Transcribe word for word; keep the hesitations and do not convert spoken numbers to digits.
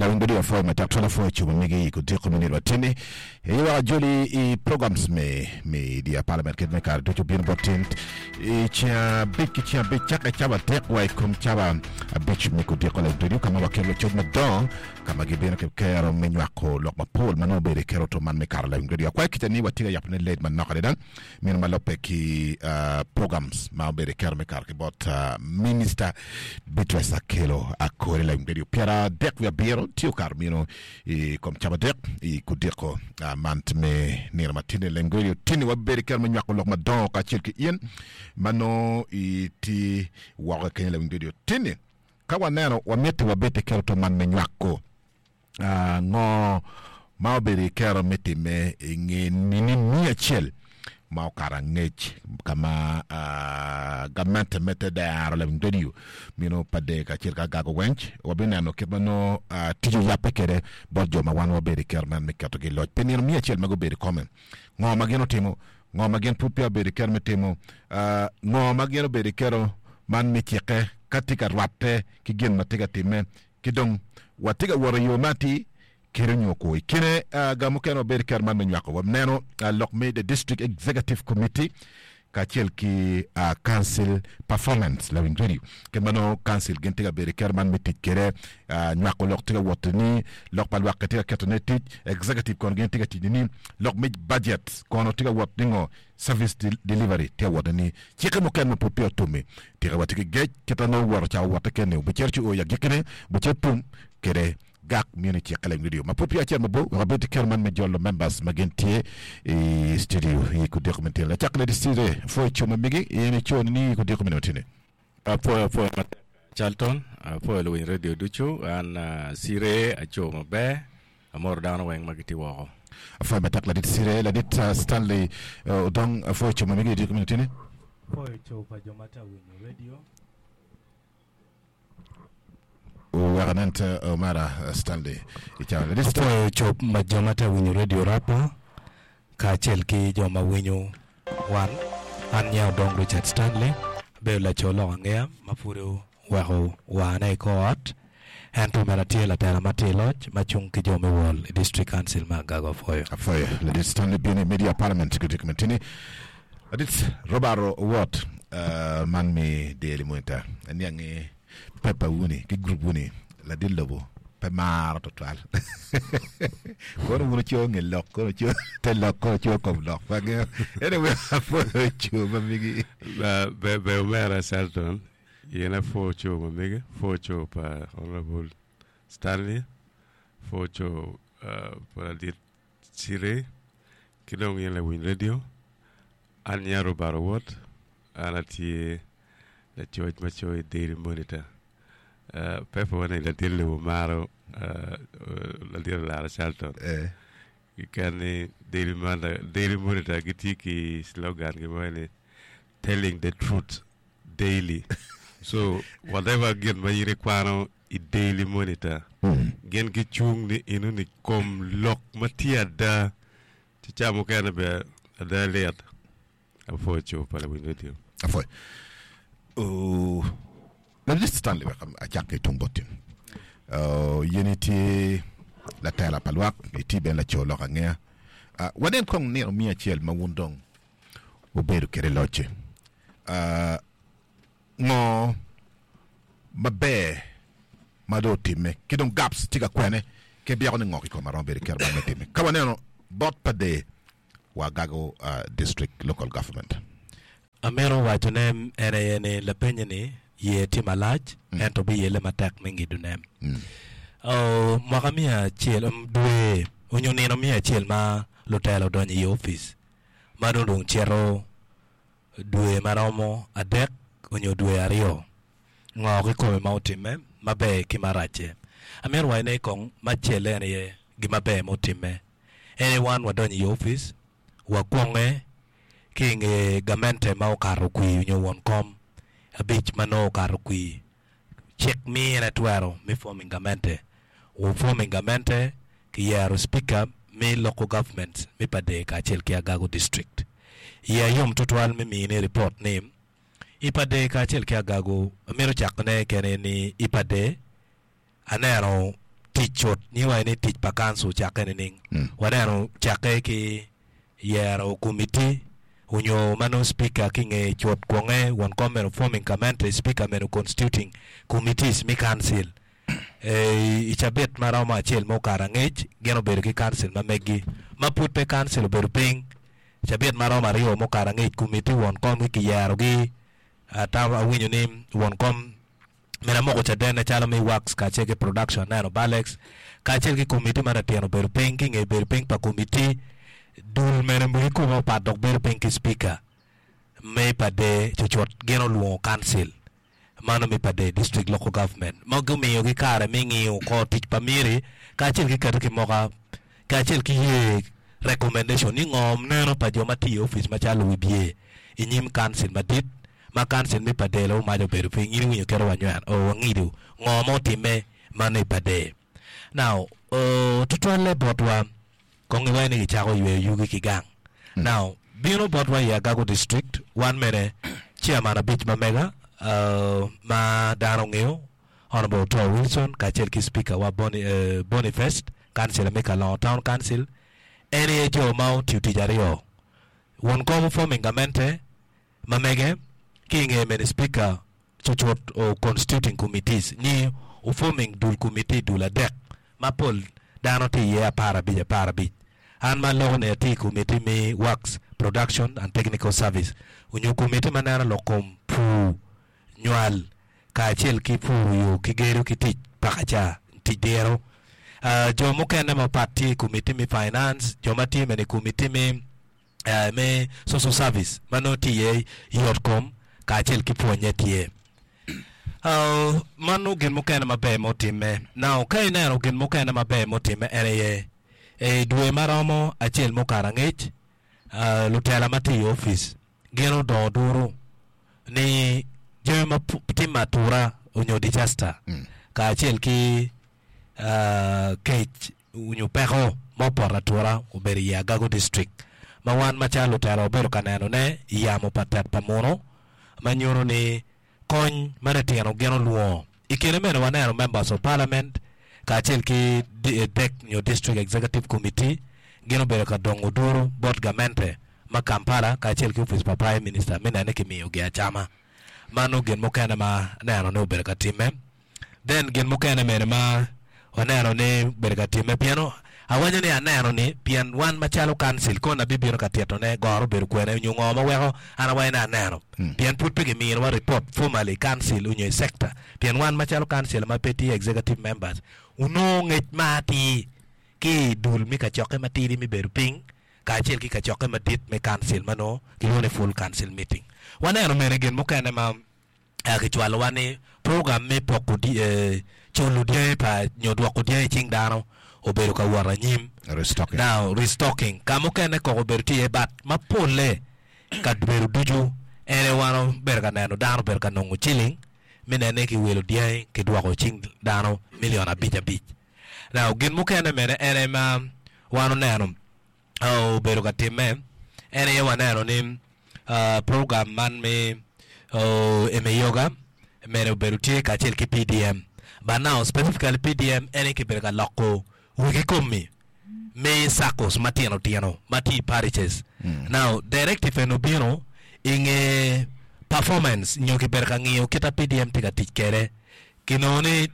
Lawiny radio apwoyo matek twal apwoyo cubo megi i kudiko me nino matini. Iweko ajoli i programs me media parliament kit me kare ducu bino bot tin i ceng abic ki ceng abic cake cawa adek wa i kom cawa abic me kudiko lawiny radio ka ma wakelo coc madongo ka ma gibino ki kero me nywako lok mapol ma nongo obedo i kero to man me kare lawiny radio. Akwayo kica ni watye ka yabone late manok adada meno ma lubbe ki programs ma obedo i kero me kato ki bot Minister Beatrice Akello Akore lawiny radio pyeradek wiye abiro tye okato meno i kom cawa adek i kudiko man me nino matini lawiny radio tini wabedo i kero me nywako lok madongo kacel ki in ma nongo itye woko kenyo lawiny radio tini ka waneno wamiti wabed i kero to man me nywako Ngo ma obedo i kero me timme i nge nini miya acel ma okato angec ka ma gamente me te dero lawiny radio mino pa dee kacel ki agago wenc? Wabineno kit ma nongo tic oyabbe kwede bot jo ma wan wabedo i kero man me ketogi i loc pi nino miya acel ma gubedo i kome. Ngo ma gin otimo? Ngo ma gin pud peya obedo i kero me timo? Ngo ma gin obedo i kero man me cikke ka tye ka rwatte ki gin ma tye ka timme? Ki dong, watye ka wot i yo ma atir kede nyo kwo. I kine ga mukene wabedo ki kero man me nywako. Waneno lok me The District Executive Committee kacel ki Council Performance lawiny radio. Kit ma nongo council gin tye ka bedo ki kero man me tic kede, nywako lok tye ka wot ni lok pa lwak tye ka ketone i tic, executive kono gin tye ka tic ni lok me budget kono tye ka wot ni ngo Service delivery tye awote ni cikke mukene ma pud peya otummi. Tika watye ki gec kit ma nongo woto ca owotte kene obicito ci oo i agikkine obicito tum kede gak mini cikke leng radio ma pud peya acito mabor wek abed ki kero man me jolo members ma gin tye i studio i kudiko me tino. Lacak Lady Cire apwoyo co ma megi in ico ni i kudiko mene matini. Apwoyo apwoyo matek Charlton, apwoyo luwiny radio ducu, an Cire aco maber. Amoro dano weng ma gitye woko. Apwoyo matek ladit Cire, ladit Stanley Odong apwoyo co ma megi idiko meno tini. Apwoyo co pa jo ma tye winyo radio. Wek anen te omera Stanley i cawa ladit Stanley. Apwoyo co ma jo ma tye winyo radio Rapa kacel ki jo ma winyo wan. An nyinga Odong Richard Stanley, abedo laco lok angeya ma pud oweko wane i kor ot. Ento bene atye latela ma tye i loc ma cung ki jo me wol i District Council me Agago. Apwoyo. Apwoyo Ladit Stanley Bini Media Parliament ki Dick Matini. Ladit Robert Owot man mi Daily Monitor aniang ni paper wuni ki group wuni ladit lobo pe maro tutwal. Kono wun wucoyo nge lok, kono wucoyo te lok, kono wucoyo kom lok. Pe angeyo. Anyway, apwoyo co ma migi. Ber ber omera Shelton. In apwo co ma mege, apwo co pa Honourable Stanley, apwo co pa ladit Cire ki dong in lawiny radio. An nyinga Robert Owot, an atye lacoc ma coyo i Daily Monitor. Paper wa ni ladit lobo maro ladit Olara Charlton. Keken ni Daily Monitor gitye ki slogan gi mo ni telling the truth daily so whatever gin ma in ikwano i daily monitor gin gicung ni enoni kom lok ma tye ada ci ca mukene bene ada lit apwoyo cobo pa lawiny radio. Apwoyo. Uh, Ladit Stanley wek acak ki tung boti. Uh, in itye latela pa lwak, itye bene laco lok angeya. Uh, wanen kong nino miya acel ma wun dong wubedo kwede locce. Ngo maber ma dong otimme ki dong gaps tye ka kwene ki byeko ni ngo kikome romo bedo kero man me timme ka waneno bot pa dee wa Agago District Local Government. Amito waco ne en aye ni lapenye ni yer tye malac ento biyelle matek me ngido ne. Mwaka miya acel dwe onyo nino miya acel ma lutela odonyo i opic ma dong dong cito dwe ma romo adek onyo dwe aryo, ngo kikome ma otimme maber ki maracce? Amito waco ni kong macelle en aye gin maber ma otimme en aye wan wadonyo i opic wakwonge ki i nge gamente ma okato kwir onyo won kom abic ma nongo okato kwir Cik mine twero me forming gamente. Wu forming gamente ki yero speaker me local government me Pader kacel ki Agago district. Iya yom tutwal me mini report ni i Pader kacel ki Agago amito cako ne kene ni i Pader aneno Tic cut nyiwa ni tic pa council cakke nining? Mm. Waneno cakke ki yero committee onyo ma nongo speaker ki nge cut kwonge won kom meno forming commentary speaker meno constituting committees mi council. Eh, i cabit ma romo acel ma okato angec gin obedo ki council ma meggi ma pud pe council obedo piny cabit ma romo aryo ma okato angec committee won kom ki kiyerogi atamo awinyo ni won kom mene amoko cadenne calo mi works kacel ki production aneno Balex kacel ki committee ma latin obedo piny ki nge bedo piny pa committee dul mene ki kome opat dok bedo piny ki speaker me pa de cucut gin olwongo council mano mi pa de district local government ma gumiyogi kare me ng'iyo ko tic pa miri kacel ki keto ki moka kacel ki ye recommendation ni ngo neno pa jo ma tiyo i office macalo wibye i nyim council madit ma council mi pa de lo maco obedo piny in iwinyo keto wanywen o wangido ngo ma otime mano i pa de now uh, tutwalle botwa kong iwaci ni gicako yweyo yugi ki gang now bino botwa i Agago district wan mene chairman abic ma mega uh, ma dano ong'eyo Honorable Otoa Wilson kacel ki speaker wa Boni, uh, Boniface councillor me Kalongo Town Council en aye jo ma otiyo tic aryo won kom forming gamente ma mege ki inge mene speaker cucut o constituting committees ni o forming dul committee dul adek ma pol dano tye iye apar abic apar abic an ma loko ni atye i committee mi works production and technical service onyo committee ma neno lok kom pur nywal kacel ki puro yo ki gedo ki tic pakaca tic diro uh, jo mukene mapat tye i committee mi finance jo ma tye mene i committee mi uh, me social service ma nongo tye iye yot kom kacel ki pwonye tye Uh, mano gin mukene maber motime now ka ineno gin mukene maber motime en aye e dwe maromo acel mukato angec uh, lutela ma tye i office gin odongo duru ni jami ma pu- timo atura onyo disaster Mm. kacel ki uh, kec onyo peko ma opoto atura obedo i Agago district ma wan macalo lutela wabedo ka nenone i yamo pa tet pa muno ma nyuto ni kony ma litino gin olwongo i kine mene waneno members of parliament kacel ki D- eh, DEC nyo district executive committee gin obedo ka dongo duro bot gamente ma Kampala kacel ki office pa prime minister me nene kimiyogi acama mano gin mukene ma aneno ni obedo ka time then gin mukene mene ma waneno ni obedo ka time pien awaco ni aneno ni pien wan macalo council kono abibino ka titone goro obedo kwene onyo ngo ma weko an awaco ni aneno pien pud pe kiminowa report formally council onyo i sector pien wan macalo council ma pe tye executive members onongo ngec ma atir ki i dul mi kacokke matidi mi bedo piny kacel ki kacokke madit me council ma nongo kilwongo ni full council meeting waneno mene gin mukene ma uh, kicwalowa ni program me poko di, eh, culo dyangi pa nyo dwoko dyangi i cing dano obedo ka wot anyim Restocking. now restocking ka mukene koko obedo tye iye but ma polle ka bedo ducu en aye wan obedo ka neno dano obedo ka nongo ciling mi nene kiwilo dyangi kidwoko cing dano milion abic abic now gin mukene mene en aye ma wan oneno uh, obedo ka time en aye waneno ni uh, program man mi uh, Emyooga mene obedo tye kacel ki P D M but now specifically P D M en aye kibedo ka loko wegi komi me SACCOs matino tino ma tye i parishes Mm. now directive en obino inge performance nyo kibedo ka ng'iyo kita P D M tye ka tic kede kinongo ni